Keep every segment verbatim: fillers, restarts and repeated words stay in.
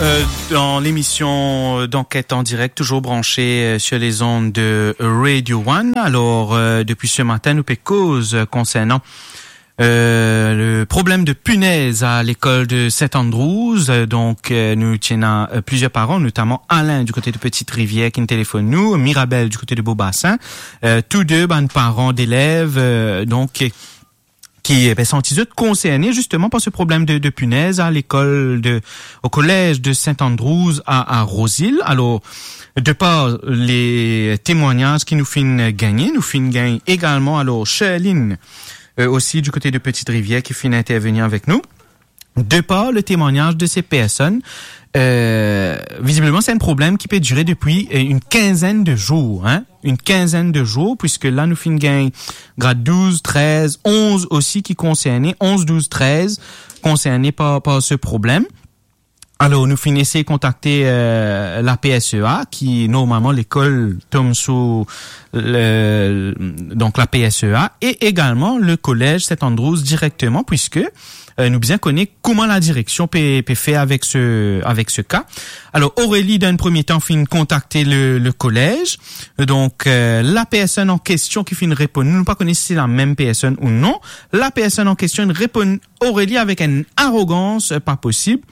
Euh, dans l'émission, euh, d'enquête en direct, toujours branchée, euh, sur les ondes de Radio One. Alors, euh, depuis ce matin, nou pe koz, euh, konsernan, euh, le problème de punaises à l'école de Saint Andrews. Euh, donc, euh, nou ti ena, euh, plusieurs parents, notamment Alain du côté de Petite-Rivière, ki telefonn nou, Mirabel du côté de Beau-Bassin. Euh, tous deux, bann paran d'elev, euh, donk, ki, eh ben, santi zot konserne zisteman par se problem de, de punez a lekol de, au collège de Saint Andrews à, à Rose-Hill. Alors, de par les témoignages ki nou finn gagne, nou finn gagne également, alors, Sherline, euh, aussi du côté de Petite-Rivière, ki finn intervenir avec nous. De par le témoignage de ces personnes, euh, visiblement, c'est un problème qui peut durer depuis, euh, une quinzaine de jours, hein. Une quinzaine de jours, puisque la, nou finn gagn grad douz, trez, onz osi ki konserne, onz, douz, trez, konserne par, par se problem. Alors, nou finn esey kontakte, euh, la P S E A, ki normalman lekol tom sou le, donc la P S E A, et également le collège Saint Andrews directement, puisque, euh, nou bizin kone kouma la direksion pe, pe fer avek se, avek se ka. Alors, Aurélie, dan enn premie tan, finn kontakte le, le collège. Donc, euh, la personne en question ki finn reponn, nou pa kone si se la mem personn ou non. La personne en question inn reponn Aurélie avek enn arogans, euh, pa posib,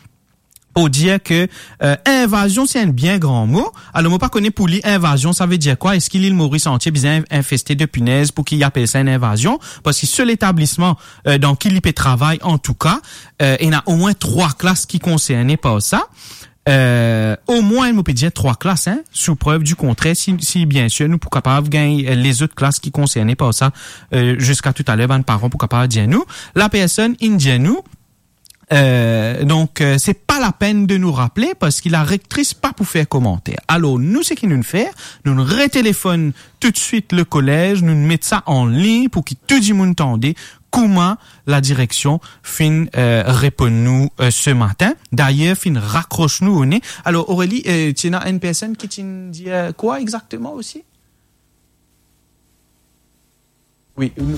pou dir ke, euh, invazion, se enn bien gran mo. Alor, mo pa kone pou li, invazion, sa ve dir kwa? Eski Lil Moris antie bizin infeste de punez pou ki apel sa enn invazion? Parski se letablisman, euh, dan ki li pe travay, antouka, euh, ena omwin trwa klas ki konserne par sa. Euh, omwin, mo pe dir trwa klas, hein, sou prev di kontrer, si, si bien sir nou pou kapav gagn, euh, lezot klas ki konserne par sa, euh, ziska toutaler, bann paran pou kapav dir nou. La personn inn dir nou, euh, donk, euh, se pa lapenn de nou rapele, parski la rektris pa pou fer komanter. Alor, nou, seki nou'nn fer, nou'nn retelefonn toutswit le collège, nou'nn met sa an lign pou ki tou dimoun tande kouma la direksion finn, euh, reponn nou, euh, se matin. Dayer, finn rakros nou o ne. Alor, Aurélie, euh, ti ena enn personn ki ti'nn dir, euh, kwa exakteman osi? Wi, nou,